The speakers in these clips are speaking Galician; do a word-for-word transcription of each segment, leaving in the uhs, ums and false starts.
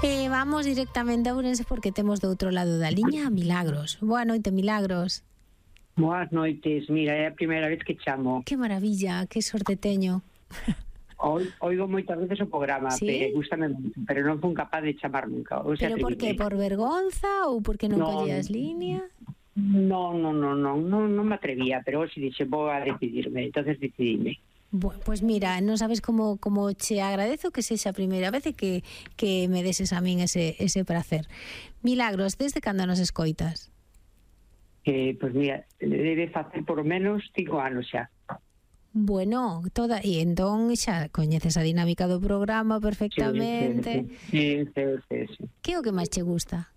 E vamos directamente a Ourense porque temos do outro lado da liña a Milagros. Boa noite, Milagros. Boas noites, mira, é a primeira vez que chamo. Que maravilla, que sorte teño. Oi, oigo moitas veces o programa, ¿Sí? pero gustame moito, pero non fun capaz de chamar nunca. O sea, Pero por que? Por vergonza ou porque non No, collías línea? No, no, no, no, no, non me atrevía, pero hoxe dixe, vou a decidirme, entonces decidime. Bueno, pues mira, non sabes como como che agradezo que sexa a primeira vez e que, que me deses a min ese, ese placer. Milagros, desde cando nos escoitas? Eh, pues mira, debe facer por menos cinco anos xa. Bueno, toda e entón xa coñeces a dinámica do programa perfectamente. Sí, sí, sí, sí, sí. Que é o que máis che gusta?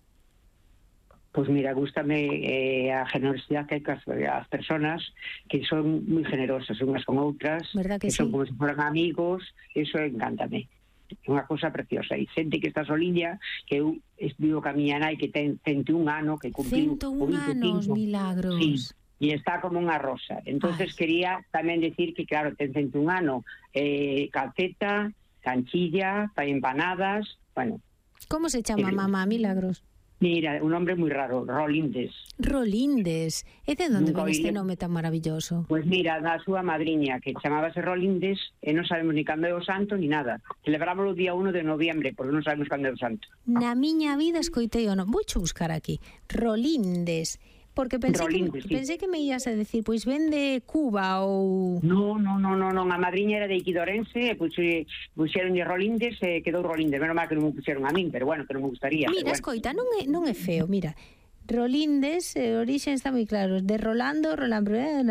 Pues mira, gústame eh, a generosidade que hai cas as personas que son moi generosas unhas con outras, Verdad que que son sí? como se foran amigos, eso encántame. É unha cousa preciosa. E xente que está soliña, que eu vivo ca miña nai que ten cento e un ano, que cumpliu cento e un anos, Milagros. Sí, e está como unha rosa. Entonces Ay. quería tamén decir que, claro, ten cento e un ano, eh, calceta, canchilla, fai empanadas, bueno. Como se chama Eh, mamá, Milagros? Mira, un nombre moi raro, Rolindes. Rolindes. E de onde Nunca ven este oí. nome tan maravilloso? Pois mira, da súa madriña, que chamábase Rolindes, e non sabemos ni cando é o santo, ni nada. Celebrámoslo o día uno de noviembre, porque non sabemos cando é o santo. Na miña vida escoitei o nome. Vou cho buscar aquí. Rolindes. Porque pensei, Rolindes, que, sí. pensei que me ibas a decir, pois ven de Cuba ou... No, no, no, no, non, a madriña era de Iquidorense, e puxe, puxeronlle Rolindes e quedou Rolindes. Menos mal que non me puxeron a min, pero bueno, que non me gustaría. Mira, pero bueno. escoita, non é, non é feo, mira. Rolindes, eh, orixen está moi claro, de Rolando, Rolando, eh,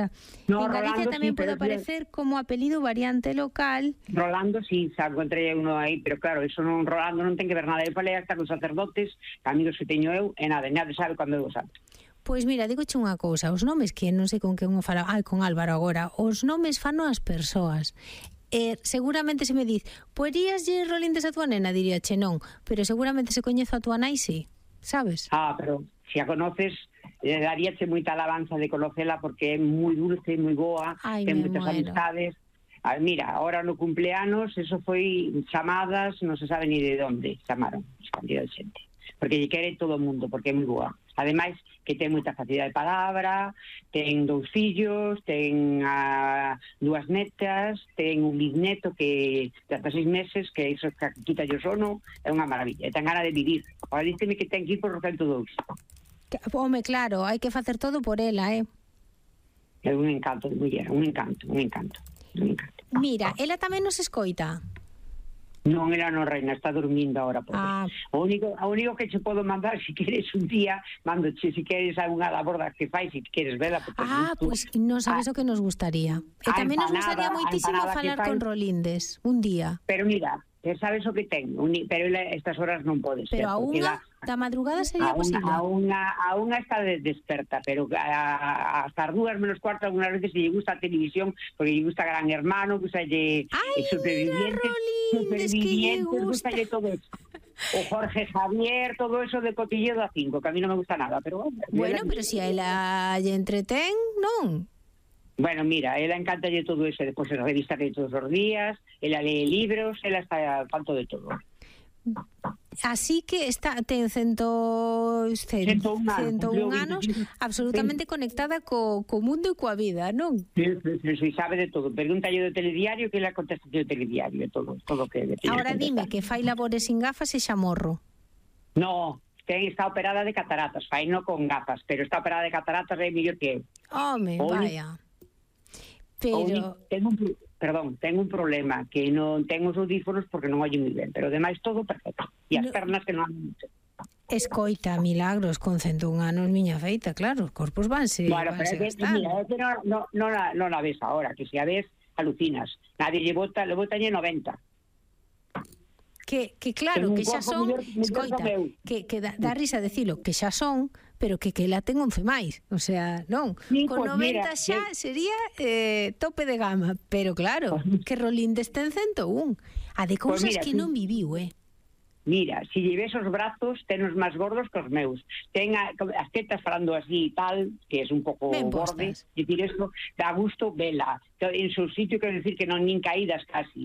No, en Galicia Rolando, tamén sí, pode pero- aparecer como apelido variante local. Rolando, sí, xa encontrei uno aí, pero claro, eso non, Rolando non ten que ver nada. Eu falei hasta con sacerdotes, amigos que teño eu, e nada, nada sabe cando é o santo. Pois mira, digoche unha cousa, os nomes que non sei con quen o fala, ai, con Álvaro agora, os nomes fano as persoas. Eh, seguramente se me diz, poderías lle Rolindes a tua nena, diría che non, pero seguramente se coñezo a tua nai, sí, sabes? Ah, pero se a conoces, eh, daríache moita alabanza de conocela porque é moi dulce, moi boa, Ai, ten me moitas muero. amistades. Ah, mira, ahora no cumpleanos, eso foi chamadas, non se sabe ni de onde chamaron, cantidad de xente. Porque lle quere todo o mundo, porque é moi boa. Ademais, que ten moita facilidade de palabra, ten dous fillos, ten a, dúas netas, ten un bisneto que de hasta seis meses, que iso que quita o sono, é unha maravilla. E ten gana de vivir. Ahora dísteme que ten que ir por o cento e dous. Que, home, claro, hai que facer todo por ela, eh? É un encanto de muller, un encanto, un encanto, un encanto. Mira, ela tamén nos escoita. Non, era non, reina, está dormindo ahora. Pobre. Ah. O único, o único que che podo mandar, si queres un día, mandoche, si queres algunha labor das que fai, si queres vela. Porque Ah, tú, pois non sabes ah, o que nos gustaría. E a tamén nos gustaría empanada, a moitísimo empanada que falar fai- con Rolindes, un día. Pero mira, eh, sabes o que ten, Uni- pero ela estas horas non pode ser. Pero a porque unha ela- da madrugada sería a unha, posible. a unha, a unha está de- desperta, pero a, a, hasta as dúas menos cuarto algunas veces lle gusta a televisión, porque lle gusta Gran Hermano, gusta lle Ai, Supervivientes, mira, Rolindes, que lle Supervivientes, gusta. gusta todo eso. O Jorge Javier, todo eso de cotilleo da cinco, que a mí non me gusta nada, pero bueno. Bueno, ela- pero se a ela lle entretén, non? Bueno, mira, ela encantalle todo eso, despois se revista que todos os días, ela lee libros, ela está al tanto de todo. Así que está ten cento, cen, Cento un anos, cento un cumpliu anos veinticinco. absolutamente conectada co, co mundo e coa vida, non? Sí, sí, sí, sí, sabe de todo. Pregúntalle do telediario que ela contesta do telediario, todo, todo que le teña Ahora que dime contestar. que fai labores sin gafas e xa morro. No, ten, está operada de cataratas, fai no con gafas, pero está operada de cataratas é mellor que eu. Home, O uni- vaya. O uni- Pero ten un, pro- perdón, ten un problema, que non ten os audífonos porque non oye moi ben, pero demais todo perfecto. E as No. pernas que non andan mucho. escoita, Milagros, con cento un anos, miña feita, claro, os corpos vanse, Bueno, pero vanse é que, gastando. mira, é que non, non, non, la, non la ves ahora, que se a ves, alucinas. Nadie lle bota, le botalle noventa. Que, que claro, Ten un que xa corpo son, mellor- mellor escoita, que o meu. que, que dá, dá risa decilo, que xa son, pero que que la ten once máis, o sea, non, Sí, con pues noventa mira, xa eu- sería eh, tope de gama, pero claro, Pues- que Rolindes ten cento un, a de cousas mira, que sí. non viviu, eh. Mira, si lle ves os brazos, ten os máis gordos que os meus. Ten a, as tetas falando así e tal, que é un pouco Ben borde. postas. Dicir, eso dá gusto vela. En seu sitio, quero decir que non nin caídas casi.